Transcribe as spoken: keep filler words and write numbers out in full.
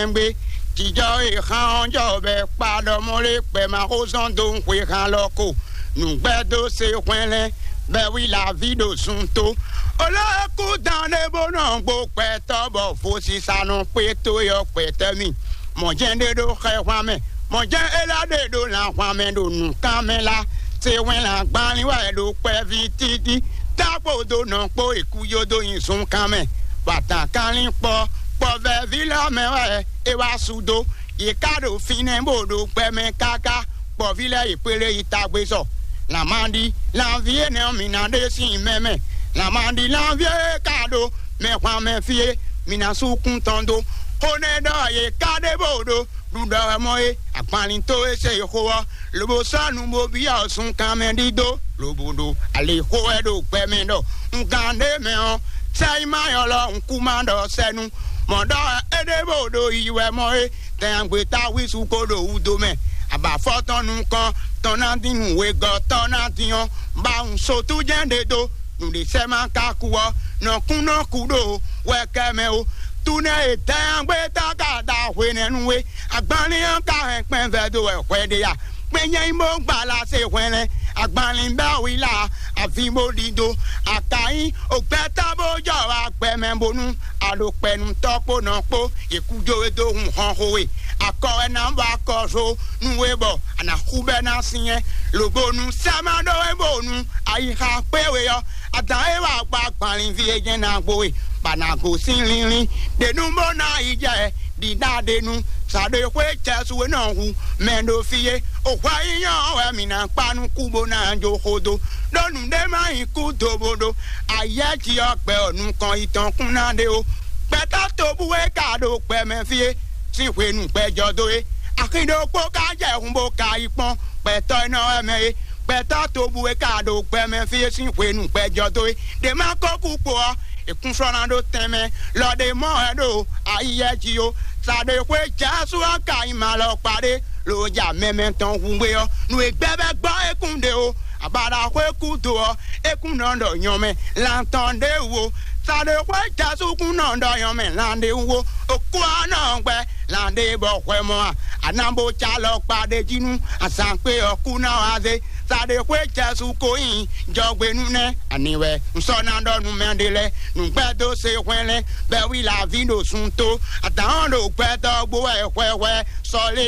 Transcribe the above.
Ɛngbé, jijɔ e xan ɔ́ jɔ bɛ kpa ɖɔ mɔ lé kpɛ ma xó zɔn dó xwe xan lɔ ko. Nǔgbɛ dó se hwɛnlɛn bɛ wi la ví ɖo sun tó. Olókú dan ɖé bó nɔ gbo kpɛtɔ bɔ fosisa nɔ kpé tó yɔ kpɛtɛ mi. Mɔ̌ jɛ́n ɖé ɖó xɛ hwan mɛ, mɔ̌ jɛ́n é lá ɖé ɖó lan hwan mɛ ɖo nǔkan mɛ lá. Se hwɛn lan gbanlin wɛ ɖo kpɛví títí. Tákpo dó nɔ kpó èkú yó dó nyi zunkan mɛ. Bàtà kanlin kpɔ kpɔvɛví lɔ mɛ wɛ é wá su dó. Yě ká ɖo fínɛ́ bó ɖo gbɛ mɛ káká. Kpɔví lɛ́ɛ yě kpélé yi tagbé sɔ. Lǎmaɖi, lanví énɛ́ ɔ́, mi ná ɖe sín mɛ mɛ. Lǎmaɖi, lanví e ka ɖo mɛ hwan mɛ fí é, mi ná sú kún tɔn dó. Xó nɛ́ ɖɔ yě ká ɖe bó ɖo ɖuɖɔ wɛ mɔ é, agbanlin tó e se xó ɔ́, lobo sɔ́ nu bó byɔ́ zunkan mɛ ɖidó, lobo ɖo ali xó wɛ ɖo gbɛ mɛ ɖɔ un gán ɖé mɛ ɔ́, sɛ yi ma nyɔ lɔ un kú ma ɖɔ sɛnu. Mɔ̌ ɖɔ é ɖé bó ɖo yi wɛ mɔ é, tɛnyagbe táwísu ko ɖo wudo mɛ, abǎfɔ tɔn nukɔn tɔn ná dín nǔ wegɔ́ tɔn ná dín ɔ́, ba un sotú jɛ́n ɖe dó. Nǔɖé sɛ́ ma ka kú ɔ́, nɔ kún nɔ kú ɖo wɛkɛ mɛ ó. Túnɛ e dɛ́nyagbe tá ka da hwenɛ́nu we, agbanlín ɔ́ ka hɛn kpɛn vɛ́ dó wɛ hwɛ ɖe a? Kpɛn nyɛ nyí bó gbala se hwɛnlɛ́n, agbanlín bɛ́ wi la, avǐ bó ɖidó. A ka nyí ògbɛ́tɔ́ bó jɔ wá gbɛ mɛ bónú a ɖo kpɛnútɔ́ kpó nɔ kpó, yě kú jó we dó hun hɔn xo we. Akɔ wɛ ná bɔ akɔ zó nú we bɔ a nǎ xú bɛ́ ná syɛ́n, lobo nú sɛ́ ma ɖó we bónú ayixa kpé we ɔ́, adǎn e wa gba gbanlínví e jɛ́n ná gbo we, bɔ a nǎ gosín línlín ɖě nú bó ná yi jɛ ɖiɖa ɖe nu. Sa ɖo xwé Jezu e nɔ hu mɛ ɖo fí é. O hwɛ yíyɔ wɛ mǐ ná kpa nú kú bó ná jó xó dó, ɖó nǔɖé má nyí kú do bó ɖó ayɛ́ jí ɔ́ gbɛ ɔ́ nukɔn yi tɔn kún ná ɖe ó. Gbɛtɔ́ tobu e ka ɖo gbɛ mɛ fí é sín hwenu gbɛjɔ dó é. Axi ɖokpó ka jɛ hun bó ka yi kpɔ́n gbɛtɔ́ e nɔ wɛ mɛ é. Gbɛtɔ́ tobu e ka ɖo gbɛ mɛ fí é sín hwenu gbɛjɔ dó é. Ɖě má kó kú kpo ɔ́, è kún sɔ́ ná ɖó tɛnmɛ lɔ ɖe mɔ wɛ ɖo ayiyɛ jí ó. Sa ɖe xwé Jezu ɔ́ ka nyí malɔkpa ɖé lo ja mɛmɛ tɔn hungbe ɔ́, nú e gbɛ́ bɛ́ gbɔ é kún ɖe ó. Abaɖaxwé kú do ɔ́, é kún nɔ ɖɔ nyɔmɛ lan tɔn ɖé wú ó. Sa ɖe xwé Jezu kún nɔ ɖɔ nyɔmɛ lan ɖé wú ó. Okú ɔ́ nɔ gbɛ lan ɖé bɔ hwɛ mɔ a? A ná bó ca alɔkpa ɖé jí nú azǎn kpé ɔ́ kú ná wá zé. Sa ɖe xwé Jezu ko nyi jɔgbe nú nɛ́ ani wɛ un sɔ́ ná ɖɔ nú mɛ ɖé lɛ́ɛ. Nǔgbɛ́ dó se hwɛnlɛ́n bɛ́ wi la ví ɖo sun tó. Adǎn ɔ́ ɖo gbɛtɔ́ gbo wɛ hwɛhwɛ sɔlé